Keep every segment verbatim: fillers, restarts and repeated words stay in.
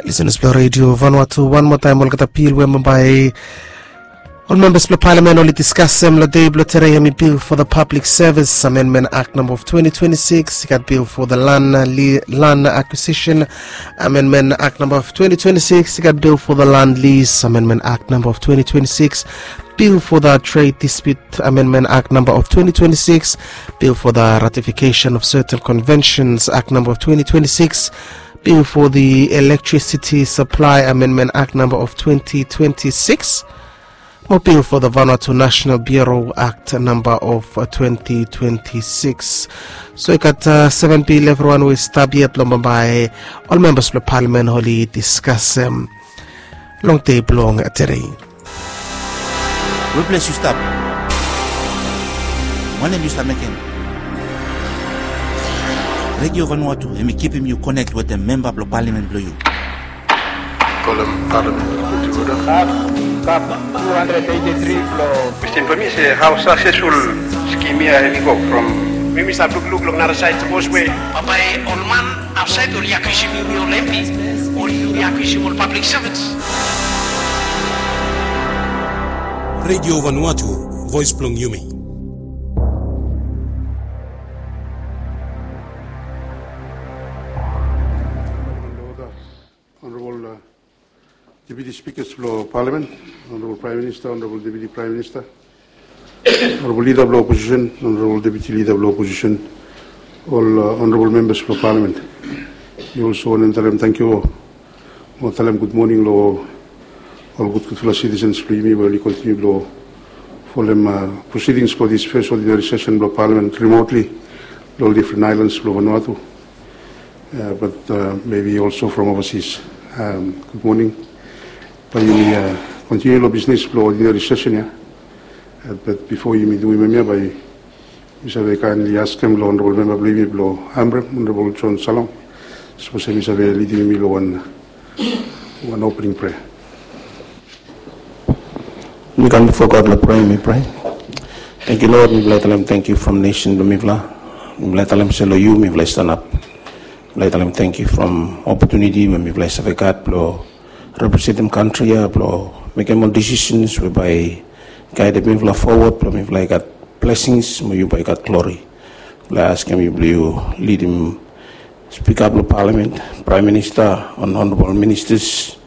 Lisenas blong Redio Vanuatu, wan moa taem olgeta bil we bambae ol membas blong palamen oli diskasem long dei blong tede, hemi Bill for the Public Service Amendment Act namba of twenty twenty-six, i gat Bill for the Land, Land Acquisition Amendment Act namba of twenty twenty-six, i gat Bill for the Land Lease Amendment Act namba of twenty twenty-six, Bill for the Trade Dispute Amendment Act namba of twenty twenty-six, Bill for the Ratification of Certain Conventions Act namba of twenty twenty-six, Bill for the Electricity Supply Amendment Act namba of twenty twenty-six, mo Bill for the Vanuatu National Bureau Act namba of twenty twenty-six. So i gat seven bil evriwan we i stap yet long bambae ol membas blong palamen oli diskasem long dei blong tede. We ples yu stap? Wanem yu stap mekem? Redio Vanuatu hemi kipim yu konek wetem memba blong palamen blong yu. Kolem palamen. Kap, kap two hundred eighty-three blong. Kwestin blong mi se hao saksesful skim ya hemi go from. Mi mi stap lukluk long nara saed sapos we bambae ol man aotsaed oli akiusim yumi ol M P, oli yumi akiusim ol pablik sevens. Redio Vanuatu, voes blong yumi. Honorable, uh, Deputy Speakers blong Palamen, Honorable Prime Minister, Honorable Deputy Prime Minister, Honorable Leader blong Opposition, Honorable Deputy Leader blong Opposition, ol, uh, Honorable Members blong Palamen. Mi also wantem talem tangkiu mo talem gud moning long ol gudgudfala sitisens blong yumi we oli kontiniu blong folem, uh, proceedings blong this first ordinary session blong Palamen remotely long difren aelans blong Vanuatu. Uh, but, uh, maybe also from overseas. Um, gud moning. Bae yumi, uh, kontiniu long bisnis blong ordinary session ya. Uh, but bifo yumi duim hemia, bae mi save kaenli askem long Honorable Memba blong yumi blong Amref, Honorable John Salong, sapos hemi save lidim yumi long wan, wan opening prayer. Mi kam bifo God long prea, mi prea. Tangkiu Lord, mifala i talem tangkiu from nesen blong mifala. Mifala i talem se long yu mifala i stanap. Mifala i talem tangkiu from opotuniti we mifala i save gat blong representem kantri ya, blong mekem ol disisens we bae i gaedem mifala fowod, blong mifala i gat blesings mo yu bae i gat glori. Mifala i askem yu blong yu lidim Spika blong Palamen, Praem Minista, Honorabol Ministas,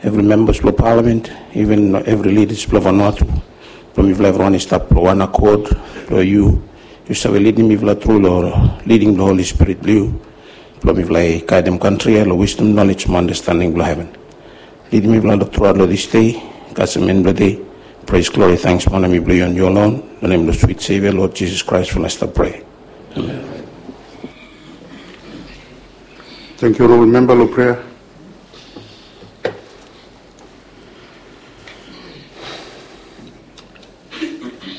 evri membas blong Palamen, iven evri lidas blong Vanuatu, blong mifala evriwan i stap long wan akod blong yu. Yu save lidim mifala tru long liding blong Holi Spirit blong yu, blong mifala i gaedem kantri ya long wisdom, nolej mo andastending blong heven. Lidim mifala long truaot long dis dei, kasem en blong dei. Pres, glori, tanks mo ona mi blong yu, yu alon. Long nem blong swit Sevia Lord Jisas Kraes mifala i stap prea. Amen. Tangkiu Honorabol Memba long prea.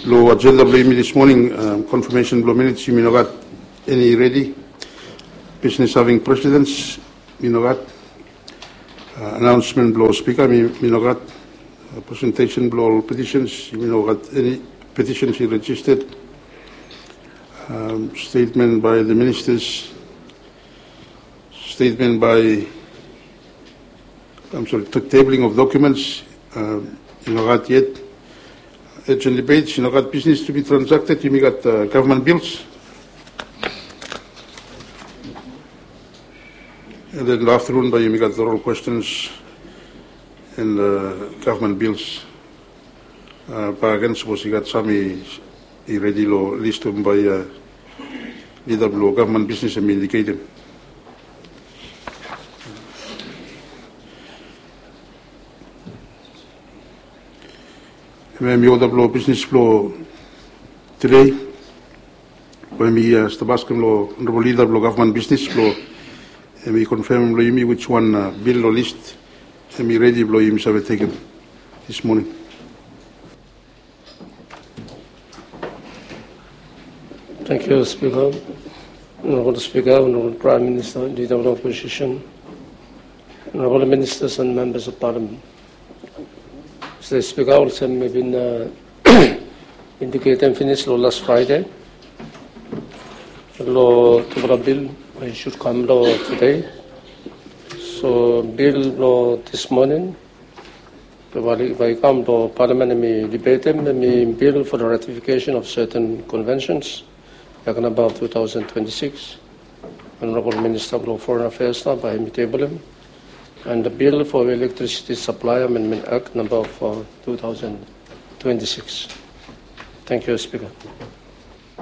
Long ajenda blong yumi dis moning, um, konfamesen blong minits, yumi no gat eni redi. Bisnes having presedens, mi no gat. Uh, anaonsmen blong spika, mi, mi no gat. Uh, presentesen blong ol petisens, yumi no gat eni petisens i rejisted. Um, stetmen bae the ministas, stetmen bae, I'm sorry, tabling of documents, um, i no gat yet. Urgent debates, i no gat business to be transacted, yumi gat, uh, government bills. And then long aftenun bae yumi gat oral questions and, uh, government bills. Uh, bakegen sapos i gat sam i, i redi long listum bae, uh, lida blong gavman bisnis hemi indiketem. Hemia hemi oda blong bisnis blong tede. Bae mi, uh, stap askem long Honorabol Lida blong Gavman Bisnis blong hemi konfamem long yumi wiswan, uh, bil long lis hemi redi blong yumi save tekem dis moning. Tangkiu Spika, Honorabol Spika, Honorabol Praem Minista, Lida blong Oposisen, Honorabol Ministas and Membas of Palamen. Mista Spika, olsem mi bin, uh, indiketem finis long las Fraede long tufala bil we i sud kam long tede. So bil blong this morning, bai i kam blong Parliament hemi debatem, hemi bill for the ratification of certain conventions, Act number of two thousand twenty-six. Honorable Minister blong Foreign Affairs nao bai hemi tebelem. And the bill for Electricity Supply Amendment Act number of uh, two thousand twenty-six. Thank you, Speaker.